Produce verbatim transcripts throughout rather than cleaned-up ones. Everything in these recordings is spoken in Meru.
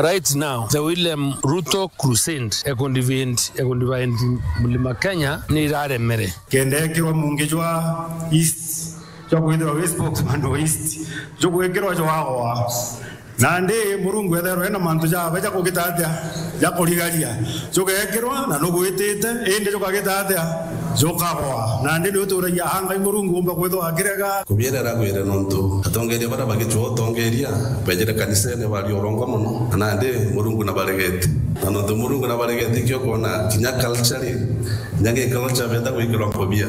Right now, the William Ruto Crusade ekundivent-, ekundivent Mlima Kenya ni iraremere. Kenda ekirwa mungi jwa East, jwa kwithirwa wi spokesman wa East, jugwikirwa jwagoa. Nandi Murungu etherwe ena mantu jawe ja kugita atia, ja kurigaria. Jugekirwa na nugwitite, indi jukagita atia, jukagoa. Nandi ni uturagia a Ngai Murungu umba kwithwa akirega. Kubiera aragwire nontu atongeria baria bagicwa utongeria, bejire kanisene bari urongo mono, na nandi Murungu nabaregete. Na nontu Murungu nabaregete, ikio kwona kinya culture, kinya gi culture benda gwikirwa nkobia.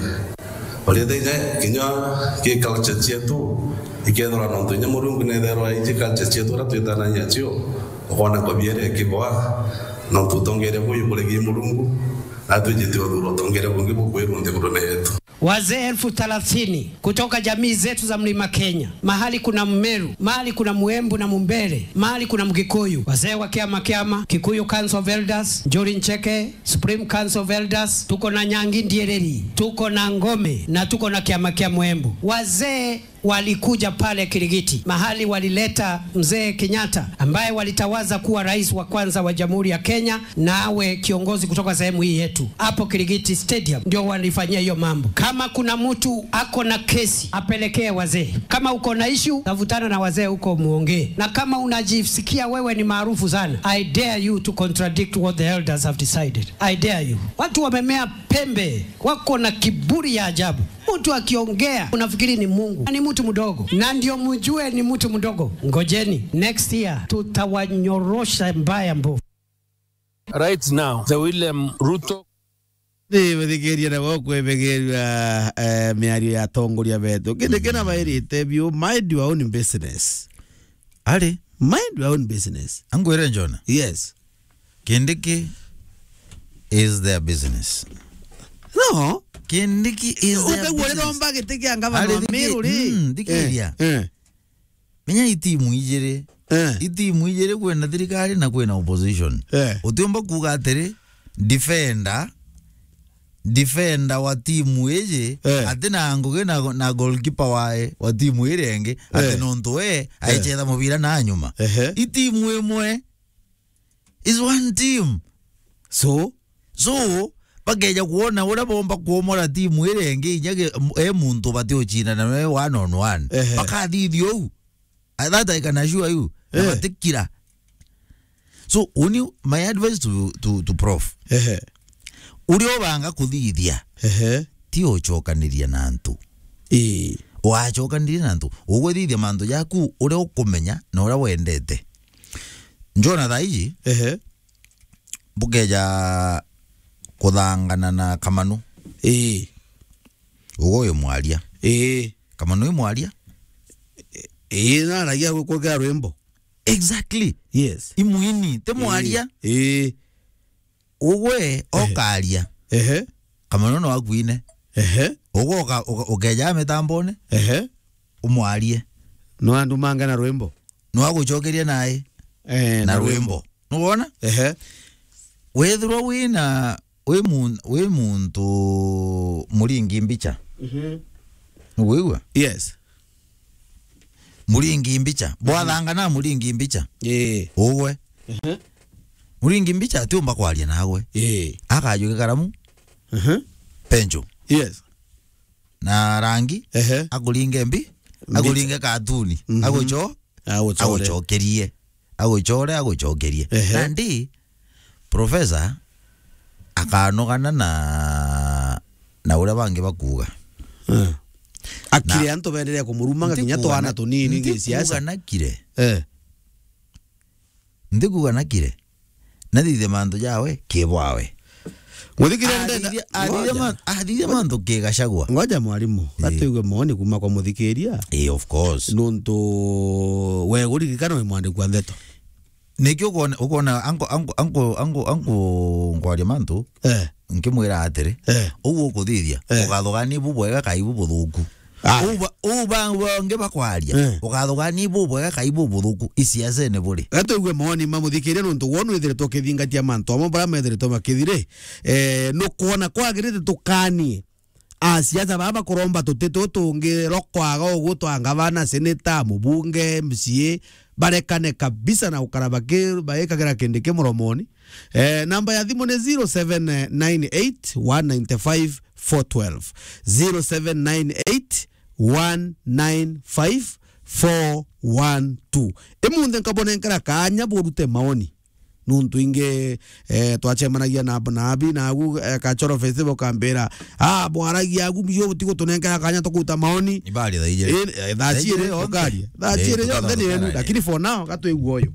Barite inya kinya gi culture cietu, ikethirwa nontu inya Murungu netherwa iji culture cietu uria twitanagia cio, ukona nkobia iria ikigwa, nontu utongeria buyu buregi Murungu, na twijite uthura utongeria bungi bukwirwa nthigurune yetu. Wazee elfu thelathini kutoka jamii zetu za Mlima Kenya, mahali kuna Mmeru, mahali kuna Mwembu na Mumbere, mahali kuna Mgikuyu, wazee wa kiama kiama, Kikuyu Council of Elders, Njuri Ncheke, Supreme Council of Elders, tuko na Nyangi Ndiereri, tuko na Ngome na tuko na kiama kia Mwembu. Wazee walikuja pale Kirigiti, mahali walileta mzee Kenyatta, ambaye walitawaza kuwa rais wa kwanza wa Jamhuri ya Kenya na awe kiongozi kutoka sehemu hii yetu. Hapo Kirigiti Stadium ndio walifanyia hiyo mambo. Kama kuna mtu ako na kesi, apelekee wazee. Kama uko na issue, tafutana na wazee huko muongee. Na kama unajisikia wewe ni maarufu sana, I dare you to contradict what the elders have decided. I dare you. Watu wamemea pembe, wako na kiburi ya ajabu. Mtu akiongea, unafikiri ni Mungu. Na ni mtu mdogo. Na ndio mjue ni mtu mdogo. Ngojeni, next year tutawanyorosha mbaya mbovu. Right now, the William Ruto. Ni muthikiria na gukwebegerua, eh, miario ya atongoria betu. Kindi kina bairite biu, mind your own business. Ari? Mind your own business. Angwire Njona? Yes. Kindiki is their business. No. Kindiki is their business. Ukagua uria romba giti kia ngavana wa Meru ri? Mm, thikiria. Eh, eh. Menya i timu ijiri. Eh. I timu ijiri, kwina thirikari na kwina opposition. Eh. Utiumba kuuga atiri, defender, defender wa timu iji, eh, ati na ngugi na, na goalkeeper wae wa timu iria ingi, ati, eh, nontu we, eh, aichetha mubira na nyuma. Ehe. I timu imwe. Is one team. So? So, bakeja kwona uria bomba kuomora timu iria ingi, inya ge-, m-, e muntu bati ucindana nawe one on one. Ehe. Bakathithia uu. Ah, that I can assure you. Na, eh, batikira. So, uni my advice to, to, to Prof. Ehe. Uria ubanga kuthithia, ehe, ti ucokaniria na antu. Ii. Wacokanirie na antu, ugwithithia mantu jaku uria ukumenya na uria wendete. Njona thaa iji, ehe, bukeja kuthangana na Kamanu. Ii. Ugo uyu mwaria. Ii. Kamanu uyu mwaria. Ii, naragia gukukira rwimbo. Exactly. Yes. Imwini, ti mwaria. Ii. Ii. Ugwe, ehe, okaria. Ehe. Kamanu no akuine. Ehe. Ugwe uka-, uka-, ukeja mitambone. Ehe. Umwarie. No andu mange na rwimbo. No agucokerie nae. Eh, na, na rwimbo. Rwimbo. Nuwona? Ehe. Wethirwa wina, wi mun-, wi muntu muringi mbicha. Mhm. Nuwigua? Yes. Muringi mbicha. Mhm. Bwathangana muringi mbicha. Ii. Ugwe. Ehe. Muringi mbicha atiumba kwaria nawe. Ii. Akajuke karamu. Mhm. Penjo. Yes. Na rangi, ehe, akuringe mbi, mbicha, akuringe katuni, mhm, agucho-, aguchore, aguchokerie. Aguchore, aguchokerie. Ehe. Nandi, professor akanogana na, na uria bangi bakuuga. Eh. Akire na antu benderea kumurumanga kinya twana tunini gi siasa. Ntikuuga nakire. Eh. Ntikuuga nakire. Nathithie mantu jawe kibwawe. Muthikiria ndenda. Athithia, athithia, ngoja, ma-, athithia mantu kigacagwa. Ngoja mwarimu, ii, gatwigue moni kuma kwa muthikiria. Ii, of course. Nuntu we uririkana wi mwandiki wa ndeto. Nikio ukona, ukona anko, anko, anko, anko, anko ngwaria mantu, eh, nkimwira atiri, eh, uu ukuthithia, eh, ugathugania ibu bwega kai ibu buthuku. Ah. Uba, uba, bangi bakwaria, eh, ugathugania ibu bwega kai ibu buthuku, isiasene buri. Gatwigue moni ma muthikiria nuntu wonu ithiritwe ukithingatia mantu amwe bara methiritwe makithiri, eh, nukwona kwagirite tukanie. A siasa baba bakuromba tuti tutungi rokwaga ugu twa ngavana, seneta, mubunge, M C A, barekane kabisa na gukara baki-, bagikagira kindi ki muromoni. Eh, namba ya thimu ni zero seven nine eight one nine five four twelve. Zero seven nine eight one nine five four one two. Imunthe nkabonenkera kanya burute maoni. Nuntu ingi, eh, twacemanagia na, na abi, na agu, eh, Kachoro Festival kambira, "Ah, bwaragia agu, mio butigutunenkera kanya tukuruta maoni." Ibari thaa ijiri. Eh, eh, thaa ciiri, yonthe. Tukaria. Thaa ciiri yonthe ni yenu, lakini for now, gatwigua uyu.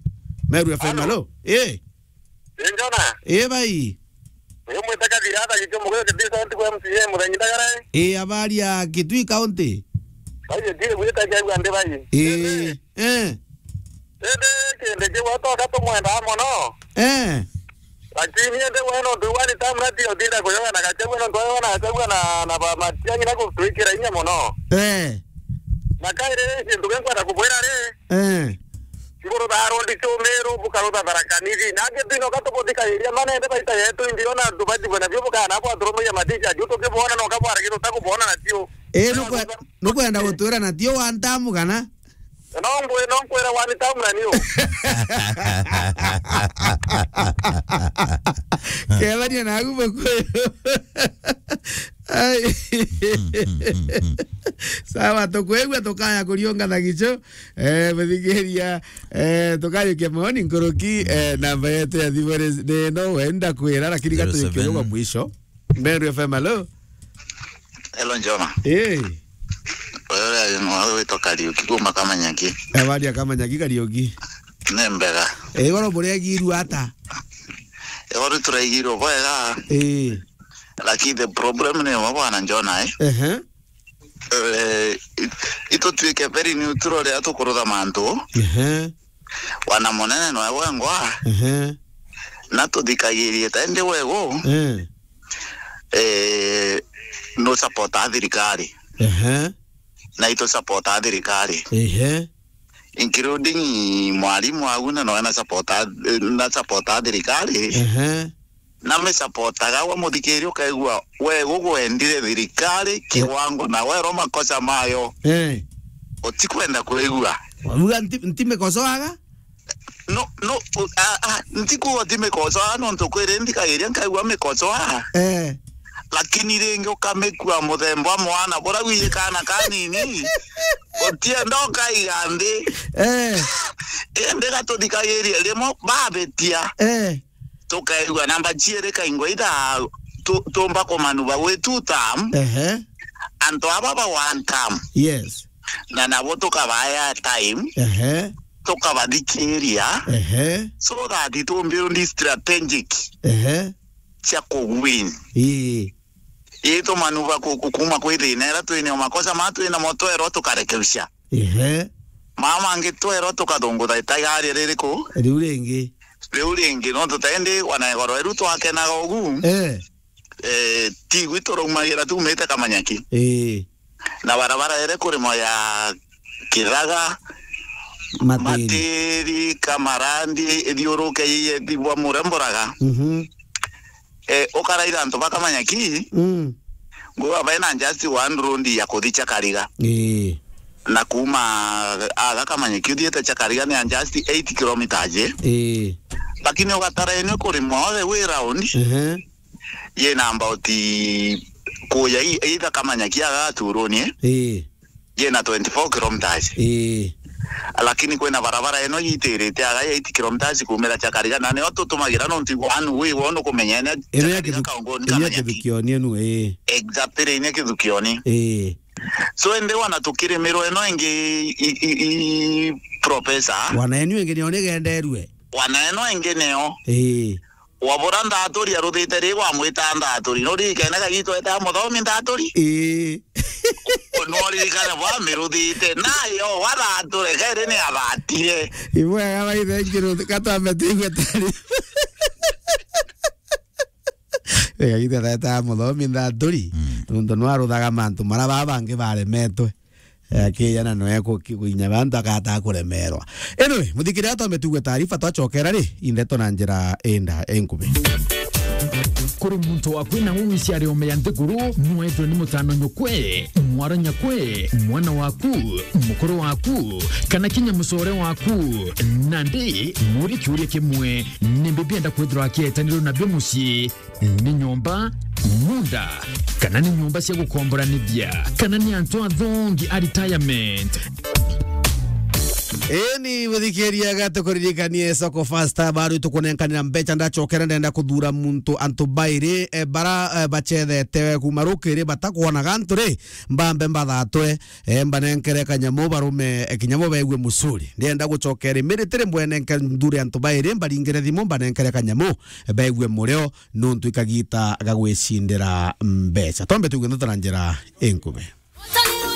Meru F M, hello. Eh. Ii, Njona. Ii, bai. Uyu mwita Kathira, atha gitio mugoyo kibisa ntigo M C A muthenya ndagara. Ii, habari ya Kitui County? Bai, ndiri gwita kiagua ndi bai. Ii, eh. Indi kindi kiu atoka tumwendaa mono. Eh. Lakini indi we nontu one time na tio tinda kuyoga na Gachagua, nontu we na Gachagua na, na ba Matiang'i na gutwikira inya mono. Eh. Na kairi kintu kinkwenda kubwira ri, eh. Ngurutha arondi Chumiru, bukarutha Tharaka Nithi. Na angi twino katubuthikairia manende baita yetu, indi ona antu batigwe nabio bukana bwaturumagia maticha juu tukibona no kabwara kintu takubona natio. Eh, nukwe-, nukwenda gutwira natio one time kana? No ngwe-, no nkwira one time na niu. Kethania nagu mukuyu. Ai. Sawa, tukwigua tukaya kuriunga thagicho. Eh, muthikiria, eh, tukarikia maoni nkuruki, eh, namba yetu ya thimu ni, ni no wenda kwira, lakini zero seven. Gaturikia uga mwisho. Meru F M, hello. Hello, Njoma. Eh. Uyu uria ni mwawe witwa Kariuki kuma Kamanyaki. Habari ya Kamanyaki, Kariuki? Ni mbega. Eh, igoro muregi iru ata? Igoro turaigirwo bwega. Eh. Lakini the problem ni umwe bwana Njona, eh. Ehe. Eh, i-, itutwike very neutral riria tukurutha mantu. Ehe. Wana munene noe wengwa. Ehe. Na tuthikagirie ta indi wegu. Eh. Eh, no support a thirikari. Ehe. Na itu support a thirikari. Ehe. Including mwarimu agu na noe na support a, na support a thirikari. Ehe. Na me support aga wa muthikiri ukaigua we gugwendire thirikari kiwango na werwo makosa mayo. Eh. Utikwenda kwigua. Wabuga nti-, ntimikosoaga? No, no, u-, a, a, ntikuga utimikosoa, nontu kwiri nthikagiria nkaigua mikosoa. Eh. Lakini ringi ukamikua muthemba mwana, bura gwi kana kanini, utienda ukaiga nthi. Eh. Indi gatuthikagiria rimwe babitia. Eh. Tukaigua namba ciiri kaingwa itha tu-, tumba kumanuva gwi two term. Ehe. Antu aba ba one term. Yes. Na nabo tukabaya time. Ehe. Tukabathikiria. Ehe. So that tumbuild strategic. Ehe. Cia kuwin. Ii. Ii tumanuva ku-, ku-, kuma kwi thina ira twinio makosa ma twinamo twerwo tukarekebisha. Ehe. Mama angi twerwo tukathungutha itaigaria ririku? Riu ringi. Riu ringi, no tutendi wana igoro eru twakenaga ugu. Eh. Eh, tigwi turaumagira tumite Kamanyaki. Eh. Na barabara ere kurimo ya Kithaga, Matiri. Matiri, Kamarandi, ithiuruke iye thibwa muremboraga. Mhm. Eh, ukaraira antu ba Kamanyaki. Mm. Nguga baina just one road ya kuthi Chakariga. Ii. Na kuma aga Kamanyaki uthiete Chakariga ni just eight kilometers je. Ii. Lakini ugatara ene kuri mothe way round. Ehe. Ye na about kuya i-, either Kamanyaki aga Turuni, eh? Ii. Yina twenty-four kilometers. Ii. Lakini kwina barabara ino yitirite aga ya eight kilometers kumira Chakariga, na nio tutumagira nontu one way wono kumenya ene Chakariga Kithu-, kaungoni ine Kamanyaki. Kithukioni enu, ii. Exactly, ine Kithukioni. Ii. So, indi wana tukirimirwe ino ingi i, i, i, professor. Wana enu ingi nio nigenderue. Wana ino ingi nio. Ii. Wabura Nthaturi aruthite ri, wamwita Nthaturi. Nuririkane kagitweta muthomi Nthaturi? Ii. Nuririkane bwamiruthite. Nayo wathature, keri ni athatire. Ibwega baithe ngiruthi, katwambe tuigue tari. Kagitweta muthomi Nthaturi. Mm. Nontu nwaruthaga mantu mara baba bangi baremetwe. Eh, akija na noe ku-, ku-, kuinya bantu akata kuremerwa. Anyway, muthikiria twambe tugue taarifa, twachokera ri, indeto na njira inda inkubi. Kuri muntu waku na uu iciari ome ya nthiguru, nwethwe ni mutano nyukwe, mwara nyakwe, mwana waku, mukuru waku, kana kinya mucore waku. Nandi, muri kiuria kimwe, nimbi bienda kwithirwa akietanirwe nabio mucii? Ni nyomba, munda, kana ni nyomba cia gukomboranithia, kana ni antu athongi a retirement? Eni, muthikiria, gatukuririkanie Soko Fasta, baru tukunenkanira mbecha. Ndachokera, ndenda kuthura muntu, antu bairi, e, bara, e, bachethete kuma rukiri, batakwona gantu ri, mbambe mbathatwe, e, mbanenkere kanyamu, barume, e, kinyamo baigue musuri. Ndienda gucokera rimiri tiri mbwenenke nthure antu bairi, mbaringire thimu, mbanenkere kanyamu, e, baigue murio, nuntu ikagita ga gwicindira mbecha. Twambe tuigue ndeto na njira inkubi.